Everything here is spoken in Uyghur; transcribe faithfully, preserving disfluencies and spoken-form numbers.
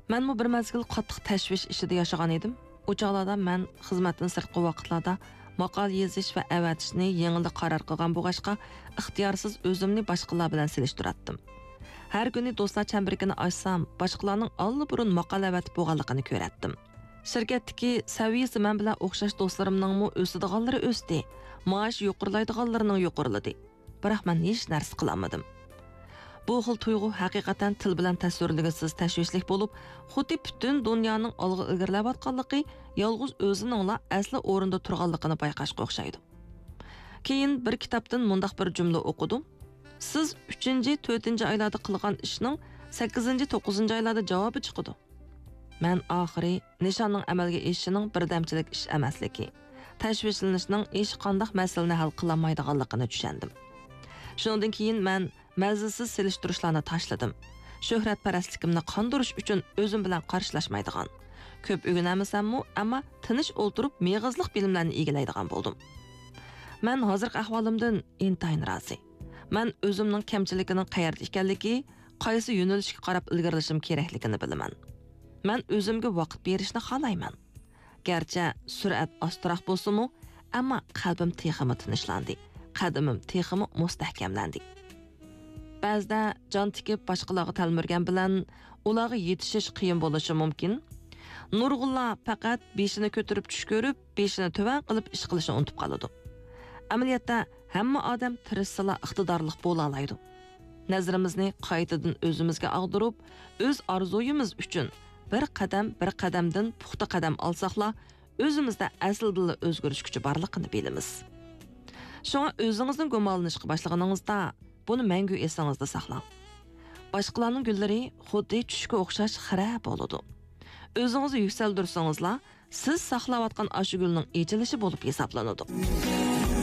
مەنمۇ بىر مەزگىل قاتتىق تەشۋىش ئىچىدە ياشىغان ئىدىم. ئۇ چاغلاردا مەن خىزمەتتىن سىرتقى ۋاقىتلاردا ماقالە يېزىش ۋە ئەۋەتىشنى يېڭىلا قارار قىلغان بولغاچقا، ئىختىيارسىز ئۆزۈمنى باشقىلار بىلەن سېلىشتۇراتتىم. ھەر كۈنى دوستلار چەمبىرىكىنى ئاچسام، باشقىلارنىڭ ئاللىبۇرۇن ماقالە ئەۋەتىپ بولغانلىقىنى كۆرەتتىم. شىركەتتىكى سەۋىيەسى مەن بىلەن ئوخشاش دوستلىرىمنىڭمۇ ئۆسىدىغانلىرى ئۆستى، مائاش يۇقىرىلايدىغانلىرىنىڭ يۇقىرىلىدى. بىراق مەن ھېچ نەرسە قىلالمىدىم. بۇ خىل تۇيغۇ ھەقىقەتەن تىل بىلەن تەسۋىرلىگۈسىز تەشۋىشلىك بولۇپ، خۇددى پۈتۈن دۇنيانىڭ ئالغا ئىلگىرىلەۋاتقانلىقى، يالغۇز ئۆزىنىڭلا ئەسلى ئورنىدا تۇرغانلىقىنى بايقاشقا ئوخشايدۇ. كېيىن بىر كىتابتىن مۇنداق بىر جۈملە ئوقۇدۇم: «سىز ئۈچىنچى، تۆتىنچى ئايلاردا قىلغان ئىشنىڭ سەككىزىنچى، توققۇزىنچى ئايلاردا جاۋابى چىقىدۇ.» مەن ئاخىرى نىشاننىڭ ئەمەلگە ئېشىشىنىڭ بىردەمچىلىك ئىش ئەمەسلىكى، تەشۋىشلىنىشنىڭ ھېچقانداق مەسىلىنى ھەل قىلالمايدىغانلىقىنى چۈشەندىم. شۇنىڭدىن كېيىن مەن مەنزىلسىز سېلىشتۇرۇشلارنى تاشلىدىم. شۆھرەتپەرەسلىكىمنى قاندۇرۇش ئۈچۈن ئۆزۈم بىلەن قارشىلاشمايدىغان، كۆپ ئۆگىنەلمىسەممۇ، ئەمما تىنچ ئولتۇرۇپ مېغىزلىق بىلىملەرنى ئىگىلەيدىغان بولدۇم. مەن ھازىرقى ئەھۋالىمدىن ئىنتايىن رازى. مەن ئۆزۈمنىڭ كەمچىلىكىنىڭ قەيەردە ئىكەنلىكى، قايسى يۆنىلىشكە قاراپ ئىلگىرىلىشىم كېرەكلىكىنى بىلىمەن. مەن ئۆزۈمگە ۋاقىت بېرىشنى خالايمەن. گەرچە سۈرئەت ئاستىراق بولسىمۇ، ئەمما قەلبىم تېخىمۇ تىنچلاندى، قەدىمىم تېخىمۇ مۇستەھكەملەندى. بەزىدە جان تىكىپ باشقىلارغا تەلمۈرگەن بىلەن ئۇلارغا يېتىشىش قىيىن بولۇشى مۇمكىن. نۇرغۇنلار پەقەت بېشىنى كۆتۈرۈپ چۈش كۆرۈپ، بېشىنى تۆۋەن قىلىپ ئىش قىلىشنى ئۇنتۇپ قالىدۇ. ئەمەلىيەتتە، ھەممە ئادەم تىرىشسىلا ئىقتىدارلىق بولالايدۇ. نەزىرىمىزنى قايتىدىن ئۆزىمىزگە ئاغدۇرۇپ، ئۆز ئارزۇيىمىز ئۈچۈن بىر قەدەم، بىر قەدەمدىن پۇختا قەدەم ئالساقلا، ئۆزىمىزدە ئەسلىدىنلا ئۆزگىرىش كۈچى بارلىقىنى بىلىمىز. شۇڭا ئۆزىڭىزدىن گۇمانلىنىشقا باشلىغىنىڭىزدا، بۇنى مەڭگۈ ئېسىڭىزدە ساقلاڭ. باشقىلارنىڭ گۈللىرى خۇددى چۈشكە ئوخشاش خىرە بولىدۇ. ئۆزىڭىزنى يۈكسەلدۈرسىڭىزلا، سىز ساقلاۋاتقان ئاشۇ گۈلنىڭ ئېچىلىشى بولۇپ ھېسابلىنىدۇ.